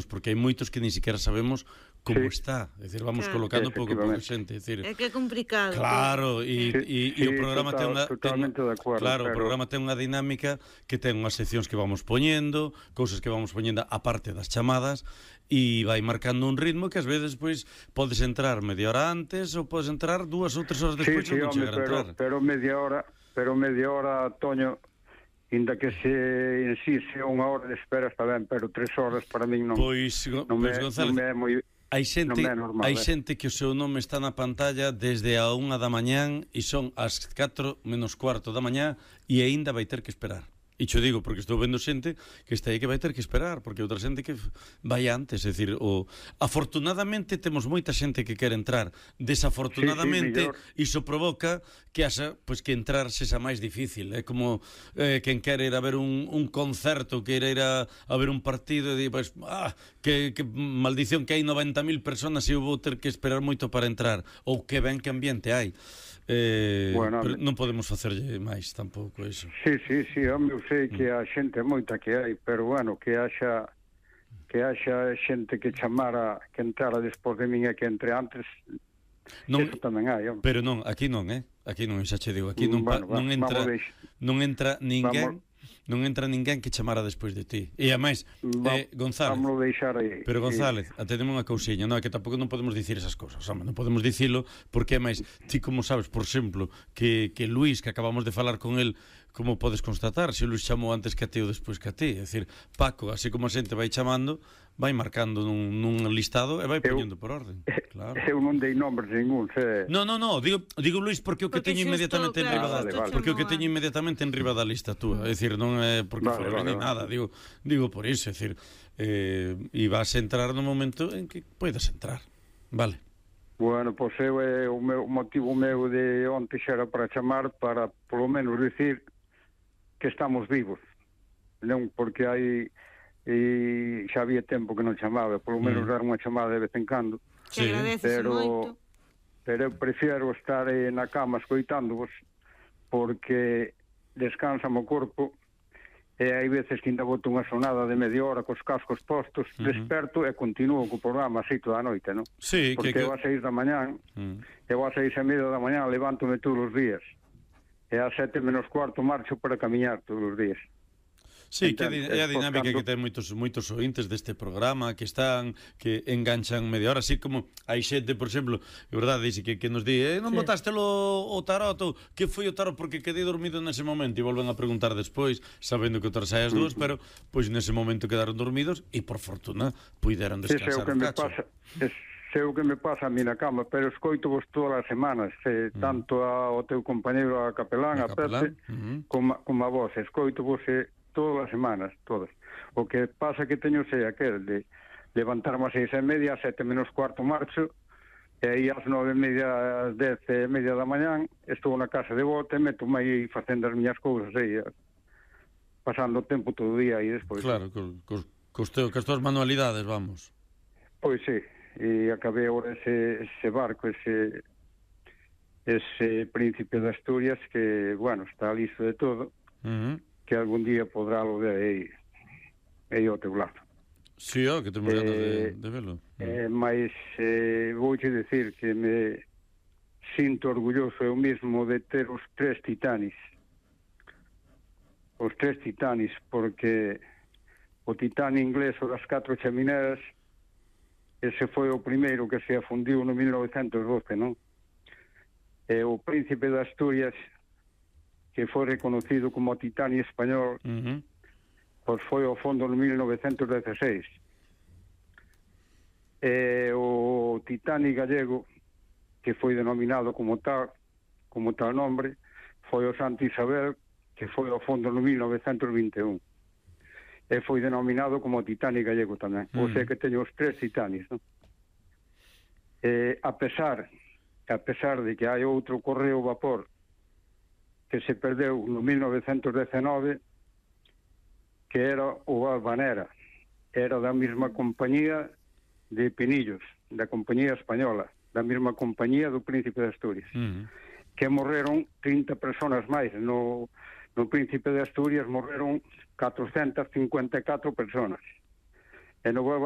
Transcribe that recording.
porque hai moitos que nin siquiera sabemos como está, é dicir, vamos colocando pouco a pouco xente, é dicir, é que é complicado. Claro, e o programa ten unha totalmente de acordo, claro, o programa ten unha dinámica que ten unhas seccións que vamos poñendo, cousas que vamos poñendo a parte das chamadas, e vai marcando un ritmo que ás veces pois podes entrar media hora antes ou podes entrar 2 ou 3 horas despois e non chegar a entrar. Pero media hora, Toño, inda que en sí sea unha hora de espera está ben, pero 3 horas para min non. Pois González, non é moi hai xente que o seu nome está na pantalla desde a 1 da mañán e son as 4 menos cuarto da mañá e aínda vai ter que esperar. E xo digo porque estou vendo xente que está aí que vai ter que esperar, porque outra xente que vai antes, é dicir, afortunadamente temos moita xente que quere entrar, desafortunadamente iso provoca que haxa, pois que entrar sexa máis difícil, é como quen quere ir a ver un concerto, quere ir a ver un partido e di, pois, que maldición que hai 90.000 personas e eu vou ter que esperar moito para entrar, ou que ben que ambiente hai. Bueno, pero non podemos facerlle máis tampouco iso. Sí, home, eu sei que a xente moita que hai, pero bueno, que haxa xente que chamara, que entrara despois de min e que entre antes, non, eso tamén hai, home. Pero non, aquí non, aquí non, xa che digo, aquí non entra ninguén. Non entra ninguén que chamara despois de ti. E ademais, González, vamos deixar aí. Pero González, atendemos unha cousiña, non, é que tampouco non podemos dicir esas cousas, home, non podemos dicilo, porque ademais, ti como sabes, por exemplo, que Luís, que acabamos de falar con el, como podes constatar, se Luís chamou antes que a ti ou despois que a ti, é dicir, Paco, así como a xente vai chamando, vai marcando nun listado e vai poñendo por orden. Claro. Eu non dei nombres ningún, No, digo Luís porque o que teño inmediatamente en riba da porque o que teño inmediatamente en riba da lista túa, é dicir, non é porque foi ni nada, digo por iso, é dicir, e vas a entrar no momento en que poidas entrar. Vale. Bueno, pois o motivo meu de onte xa era para chamar para, polo menos, dicir que estamos vivos, non porque hai xa había tempo que non chamaba, polo menos dar unha chamada de vez en cando. Sí. Pero eu prefiero estar na cama escoitándovos porque descansame o corpo e hai veces que ainda boto unha sonada de media hora cos cascos postos, desperto e continuo co programa así toda a noite, non? Sí, porque eu ás 6 da mañán, eu ás 6:30 da mañán levántome todos os días e ás 7 menos cuarto marcho para camiñar todos os días. Sí, que é a dinámica que ten moitos ointes deste programa que enganchan media hora, así como hai xente, por exemplo, é verdade, dice que nos di, non botástelo o tarot, que foi o tarot porque quedei dormido nese momento, e volven a preguntar despois, sabendo que o tarot sai as 2, pero pois nese momento quedaron dormidos e por fortuna puideron descansar un cacho. Sei o que me pasa a mí na cama, pero escoito vos todas as semanas, tanto ao teu compañeiro a Capelán, a Pepe, como a vos, escoito vos todas as semanas, todas. O que pasa que teño aquel de levantarme ás 6:30, ás 7 menos cuarto marcho, e aí ás 9:30, ás 10:30 da mañán, estou na casa de bote, meto-me aí facendo as miñas cousas aí, pasando o tempo todo o día aí despois. Claro, cos tuas manualidades, vamos. Pois sí, e acabei agora ese barco, ese príncipe de Asturias que, bueno, está listo de todo, que algún día podrá lo ver aí ao teu lado. Sí, que temos ganas de velo. Mas vouche decir que me sinto orgulloso eu mesmo de ter os 3 titanis. Os 3 titanis, porque o titán inglés o das 4 chamineras, ese foi o primeiro que se afundiu no 1912, non? E o príncipe de Asturias, que foi reconocido como Titani español, pois foi ao fondo no 1916. E o Titani gallego, que foi denominado como tal nombre, foi o Santa Isabel, que foi ao fondo no 1921. E foi denominado como Titani gallego tamén. O sea que teño os 3 Titanis, non? A pesar de que hai outro correo vapor que se perdeu no 1919, que era o Albanera, era da mesma compañía de Pinillos, da compañía española, da mesma compañía do Príncipe de Asturias, que morreron 30 personas máis. No Príncipe de Asturias morreron 454 personas, e no Albanera